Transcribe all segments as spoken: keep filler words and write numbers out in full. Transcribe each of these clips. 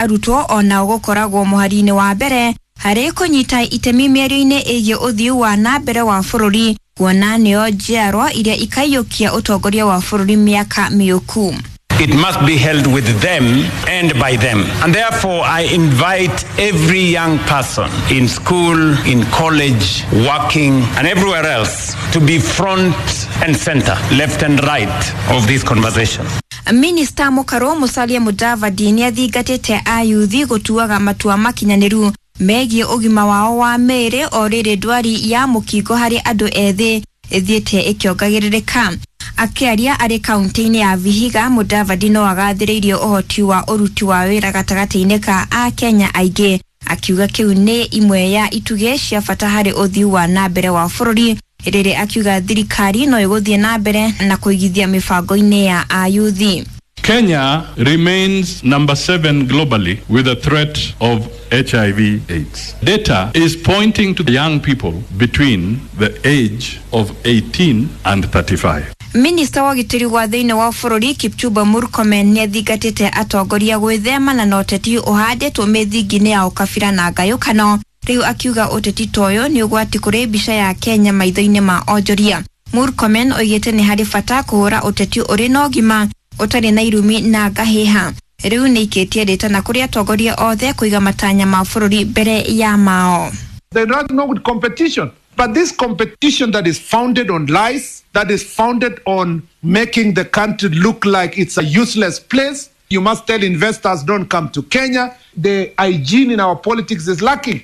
Arutwo onao gũkoragwo mũhari-inĩ wa mbere harĩ kũnyita itemi mĩario-inĩ ĩgiĩ ũthiu wa na mbere wa bũrũri, kuona nĩo njiarwa iria ikaiyũkia ũtongoria wa bũrũri mĩaka mĩũku. It must be held with them and by them. And therefore, I invite every young person in school, in college, working, and everywhere else to be front and center, left and right of this conversation. Minista Mũkarũ Musalia Mudavadi nĩ athingatĩte ayuthi gũtuaga matua makinyanĩru megiĩ ũgima wao wa mĩĩrĩ o rĩrĩ ndwari ya mũkingo harĩ andũ ethĩ ĩthiĩte ĩkĩongagĩrĩrĩka. Akĩaria arĩ kaunti-inĩ ya Vihiga, Mudavadi no agathĩrĩirie ũhoti wa ũruti wa wĩra gatagatĩ-inĩ ka Akenya aingĩ, akiuga kĩu nĩ imwe ya itugĩ cia bata harĩ ũthiu wa na mbere wa bũrũri, rĩrĩ akiuga thirikari no ĩgũthiĩ na mbere na kũigithia mĩbango-inĩ ya ayuthi. Kenya remains number seven globally with a threat of H I V AIDS. Data is pointing to young people between the age of eighteen and thirty-five. Minista wa ũgitĩri wa thĩinĩ wa bũrũri Kipchumba Murkomen nĩathingatĩte atongoria gwĩthemana na ũteti ũhandĩtwo mĩthingi-inĩ ya ũkabira na ngayũkano, rĩu akiuga ũteti ta ũyũ nĩ ũgwati kũrĩ mbica ya Kenya maitho-inĩ ma onjoria. Murkomen oigĩte nĩ harĩ bata kũhũra ũteti ũrĩ na ũgima ũtarĩ na irumi na ngahĩha. Rĩu nĩikĩtie rĩtana kũrĩ atongoria othe kũiga matanya ma bũrũri mbere ya mao. They don't know with competition. But this competition that is founded on lies, that is founded on making the country look like it's a useless place. You must tell investors don't come to Kenya. The hygiene in our politics is lacking.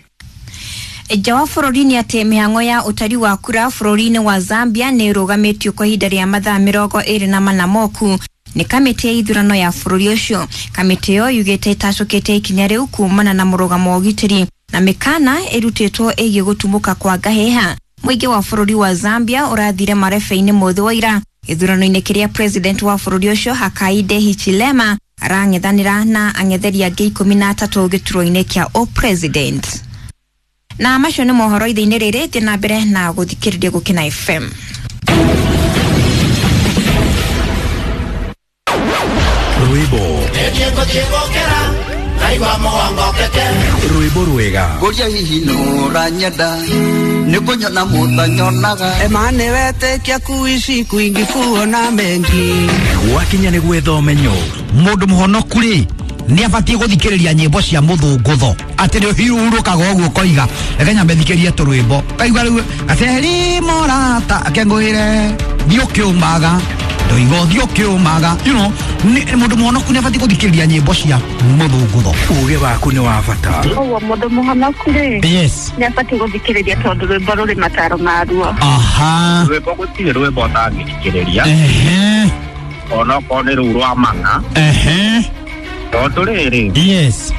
Nja wa bũrũri nĩ atĩ mĩhang'o ya ũtari wa kura bũrũri-inĩ wa Zambia nĩ ĩrũgamĩtio kwa ihinda rĩa mathaa mĩrongo ĩrĩ na mana moku nĩ kamĩtĩ ya ithurano ya bũrũri ũcio. Kamĩtĩ ĩyo yugĩte ĩtacũkĩte ikinya rĩu kumana na mũrũgamo wa ũgitĩri na mĩkana ĩrutĩtwo ĩgiĩ gũtumũka kwa ngahĩha. Mũingĩ wa bũrũri wa Zambia ũrathire marebe-inĩ mũthĩ wa ira gĩthurano-inĩ kĩrĩa president wa bũrũri ũcio Hakainde Hichilema arang'ethanĩra na ang'etheri angĩ ikũmi na atatũ gĩturwa-inĩ kĩa ũpresident. Na macio nĩ mohoro ithe-inĩ rĩrĩ, thiĩ na mbere na gũthikĩrĩria Gũkena F M. Rwĩmbo rwĩmbo rwega Ngoria hihi nũranyenda nĩ kũnyona mũtanyonaga ema nĩ wetĩkia kuici kwingi kuona mengi gwakinya nĩ gwetha ũmenyo. Mũndũ mũhonoku rĩ nĩ abatiĩ gũthikĩrĩria nyĩmbo cia mũthũngũtho atĩ nĩ ũhurũkaga ũguo ũkoiga reke nyambe thikĩrie tũrwĩmbo kaigua rĩu gaceri morata akengũĩre thiĩ ũkĩũmaga ndoiga ũthiĩ ũkĩũmaga, you know, mũndũ mũhonoku nĩ abatiĩ gũthikĩrĩria nyĩmbo cia mũthũngũtho. Ũgĩ waku nĩ wa bata. Ũguo mũndũ mũhonoku rĩ, yes, nĩ abatiĩ gũthikĩrĩria tondũ rwĩmbo rũrĩ mataro maruo. Aha, rwĩmbo gũtirĩ rwĩmbo ũtangĩthikĩrĩria, ehe, onokorwo nĩ rũu rwa mang'a, ehe, tondũ rĩrĩ, yes,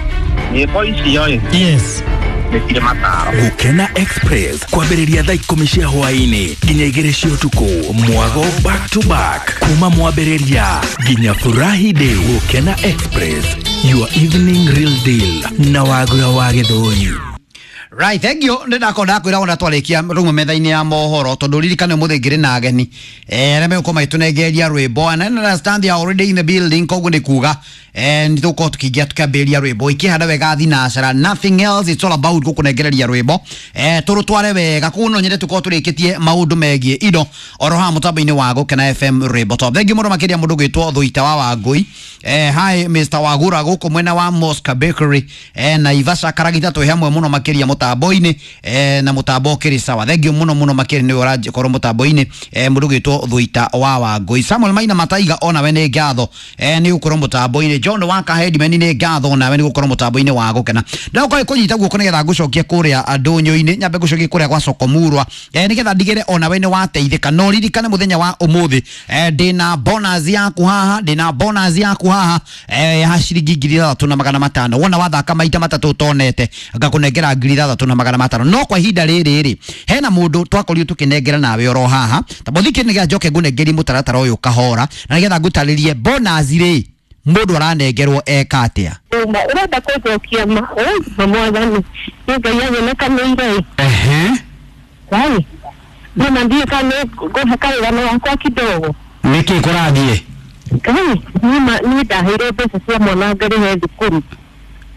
nyĩmbo icio ĩ, yes, nĩ cirĩ mataro. Gũkena Express kwambĩrĩria thaa ikũmi cia hwaĩ-inĩ nginya igĩrĩ cia ũtukũ, mwago back to back kuma mwambĩrĩria nginya furahi day. Gũkena Express, your evening real deal na Wagura wa Gĩthũri. Right, thank you. Nĩ ndakorwo ndakwĩra ona twarĩkia rũmwe metha-inĩ ya mohoro tondũ ririkane ũmũthĩ ngĩrĩ na ageni eh arĩa megũkorwo magĩtũnengeria rwĩmbo, and I understand they are already in the building, koguo nĩ kuga eh nĩ tũgũkorwo tũkĩingĩra tũkĩambĩrĩria rwĩmbo ikĩhanda wega thinacara, nothing else, it's all about gũkũnengereria rwĩmbo eh tũrũtware wega. Koguo no nyende tũkorwo tũrĩkĩtie maũndũ megiĩ indo oro haha mũtambo-inĩ wa Gũkena F M rwĩmbo top. Thank you mũno makĩria mũndũ gwĩtwo Thuita wa Wangũi, eh hi Mister Wagura gũkũ mwena wa Mosca Bakery, eh na Ivasha Karagita twĩ hamwe mũno makĩria mũtambo-inĩ, eh na mũtambo ũkĩrĩ sawa. Thank you mũno mũno makĩria nĩ ũrakorwo mũtambo-inĩ, eh mũndũ gwĩtwo Thuita wa Wangũi. Samuel Maina Mataiga onawe nĩ ngatho, eh nĩ gũkorwo mũtambo-inĩ. John Waka Headman nĩ ngatho onawe nĩ gũkorwo mũtambo-inĩ wa Gũkena. Ndakorwo kũnyita guoko nĩgetha ngũcokie kũrĩa ndũnyũ-inĩ, nyambe ngũcokie kũrĩa gwa Sokomurwa, eh nĩgetha ndigĩre onawe nĩ wateithĩka. No ririkane mũthenya wa ũmũthĩ, eh ndĩna bonus yaku haha, ndĩna bonus yaku haha, eh ya ciringi ngiri ithathatũ na magana matano. Wona wathaka maita matatũ ũtonete ngakũnengera ngiri ithathatũ na magana matano. No kwa ihinda rĩrĩ rĩ, hena mũndũ twakorirwo tũkĩnengera nawe oro haha tamũthikĩ nĩgetha njoke ngũnengerie mũtaratara ũyũ kahora na nĩgetha ngũtarĩrie bonus rĩ mũndũ aranengerwo eka atĩa. Ũrenda kũnjokia ma ma mwathani nĩ Ngai anyonekanĩire. Ehe, Ngai nĩma ndiũĩ kana nĩ ngũhe karũgano gakwa kidogo. Nĩkĩ kũrathiĩ? Ngai nĩma niĩ ndaheirwo mbeca cia mwana ngarĩhe thukuru.